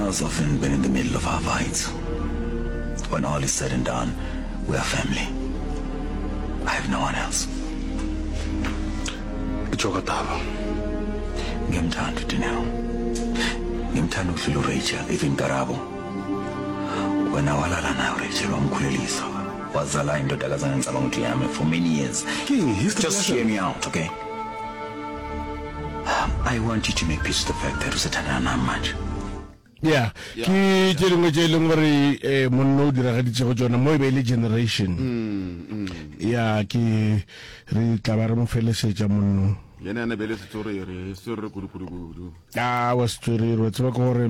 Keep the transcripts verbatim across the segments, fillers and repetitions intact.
Dineo's often been in the middle of our fights. When all is said and done, we are family. I have no one else. Ke tšwa ka taba. Ngiyamthanda uDineo. Ngimthanda ukudlula uRachel, even Karabo. Wena walala naye uRachel wamkhulelisa. Wazala indodakazana ngicabanga ukuthi yami for many years. King, history Just hear me out, okay? I want you to make peace with the fact that usethandana nami manje. Ya, ke tše dingwe tše e leng gore eh, monna o diragaditšego tšona mo e be e le generation. Ya, ke re tla ba re mo felesetša monno. Yena yana be le setswerere, setswerere kudu kudu kudu. A wa setswerere, wa tseba ke gore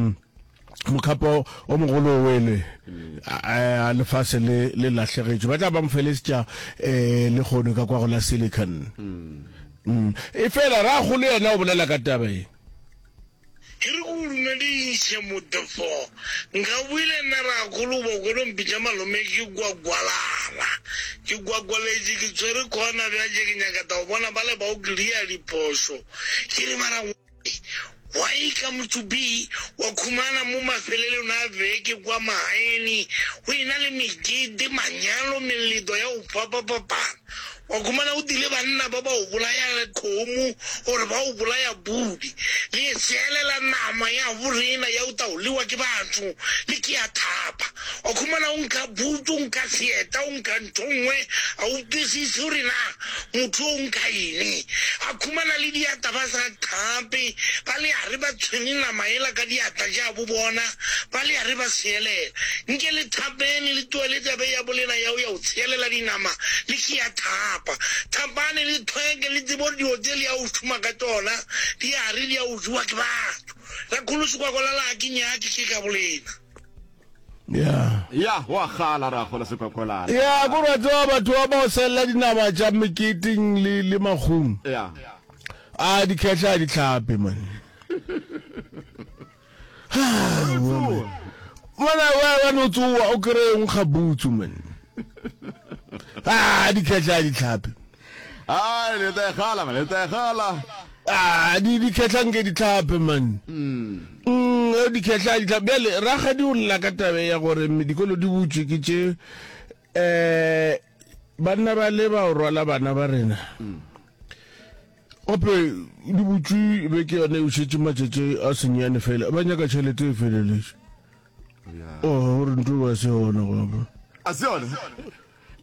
mokhapo o mogolo o wele, a lefase le le lahlegetšwe. Ba tla ba mo felesetša eh le kgono ka kwa go la Silicon. Mm. E fela ragolo yena o bolela ka taba e. Ke re ke o dumediše Motefo. Nka boile nna rakgolo o kwele o mpitša malome ke gwagwalala. Ke gwagwaletše ke tshwere khona bjatše ke nyaka ta go bona bale ba o clear diphošo. Ke re mara why come to be wa khumana mo mafelelong a beke kwa magaeng go ena le mekete, manyalo, meleto ya go fapafapana. Wa khumana o tile banna ba ba o bolaya kgomo gore ba o bolaya pudi. Le e seelela nama ya borena ya o taoliwa ke batho le ke ya thapa. Wa khumana o nka butu, o nka seeta, o nka ntho nngwe, a o kwisise gore na motho o nka eng. A khumana le diata ba sa thape, ba le are ba tshwere nama ela ka diatla tša bo bona, ba le are ba seelela. Nke le thapene le tlohele tabe ya bolena ya o ya o tsheelela dinama le ke ya thapa. Thapane le thweke le tsebo dilo tše le ya o šoma ka tšona di are di ya o jewa ke batho. Rakgolo Sekwakwalala a ke nyake ke ka bolena. Ya. Ya, wa kgala rakgolo Sekwakwalala. Ya, ko re tseba batho ba ba o sella dinama tša meketeng le le makgong. Ya. A dikhehla a di hlape man. Mona wa wa no tsoa o kry o nkga butsu man. Ah, dikhehla a di hlape. Ai, le tla e kgala man, le tla e kgala. Ah, di dikhehla nke di hlape man. Mm, eh, dikhehla a di hlape. Bjale rakgadi o lla ka tabe ya gore dikolo di butšwe ke tše eh banna ba le ba o rwala bana ba rena. Gape di butšwe beke yone o šetše matšatši a senyane fela ba nyaka tšhelete e feleletše. Oh, gore ntho ba se yona gape. A se yona.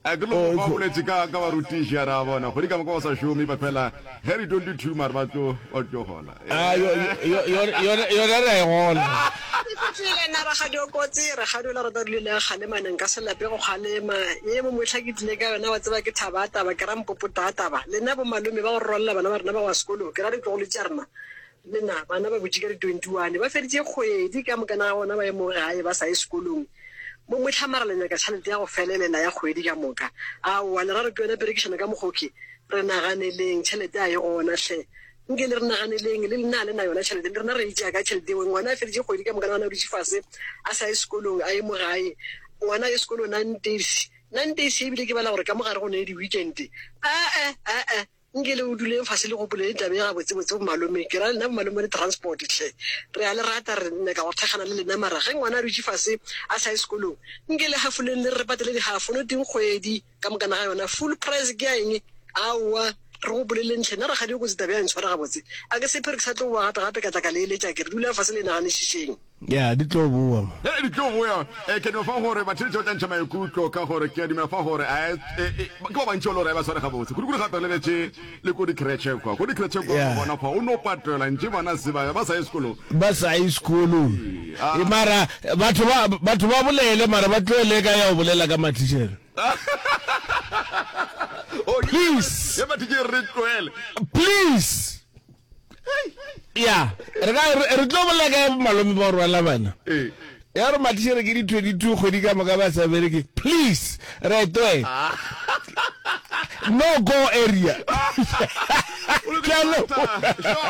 A ke lo ba boletše ka ka barutiši a ra bona kgwedi ka moka ba sa šome ba fela ge re twenty-two mare ba tlo ba tlo gola. Ah, yo yo yona yona re a e gola. Ke fihlile nna rakgadi o kotsi, rakgadi ola rata dilo le kgalema ne nka se lape go kgalema. Ye mo mohla ke tlile ka yona wa tseba ke thaba taba ke ra mpopota taba. Lena bo malome ba go rwalela bana ba rena ba go ya sekolong ke ra ditlogolo tša rena. Lena bana ba butše ka di twenty-one ba feditše kgwedi ka mokana ga bona ba ye mo gae ba sa ye sekolong. Mo mohla mara le nyaka tšhelete ya go felelela ya kgwedi ka moka. Aowa le ra re ke yona perekišano ka mokgoki re naganeleng tšhelete a e gona hle. Nke le re naganeleng le lena le na yona tšhelete le rena re itšea ka tšhelete eo. Ngwana a feditše kgwedi ka moka gona o dutše fase a sa ye sekolong a ye mo gae. Ngwana a ye sekolong nine days. Nine days ebile ke bala gore ka mogare go ne di weekend. Ae ae nke le o duleng fase le gopoleng taba e gabotsebotse bo malome. Ke ra lena bo malome ba di-transport hle. Re a le rata re nyaka go thekgana le lena mara ge ngwana a dutše fase a sa ye sekolong nke le hafoleng le re patele di-half no teng kgwedi ka mokana ga yona. Full price ke ya eng? Aowa re go boleleng hle nna rakgadi o kotsi taba ya ntshwara gabotse. A ke sephere ke sa tlo boa gape gape ka tla ka le eletša ke re dulang fase le naganišišeng. Ya, di tlo boa mo. He, di tlo boa. Eh, ke no fa gore batheetši ba tla ntšha maikutlo ka gore ke a dumela fa gore a e, e, ke ba bantši ba le gore ba tshware gabotse. Kudu-kudu gape re lebetše le ko di-creche kwa. Ko di-creche kwa Yeah. bona fa o no patelwa ntše bana se ba ba sa ye sekolong. Ba sa ye sekolong. Ah. E mara batho ba batho ba bolele mara ba tlohele ka ya go bolela ka mathišere. Oh, Please. Ya mathišere re tlohele. Please. Ya, re ka re tlo bolela ka malome ba go rwala bana. Ee. Ya gore mathišere ke di twenty-two kgwedi ka moka ba sa bereke. Please, re e tlohele. No go area. Ke a leboga.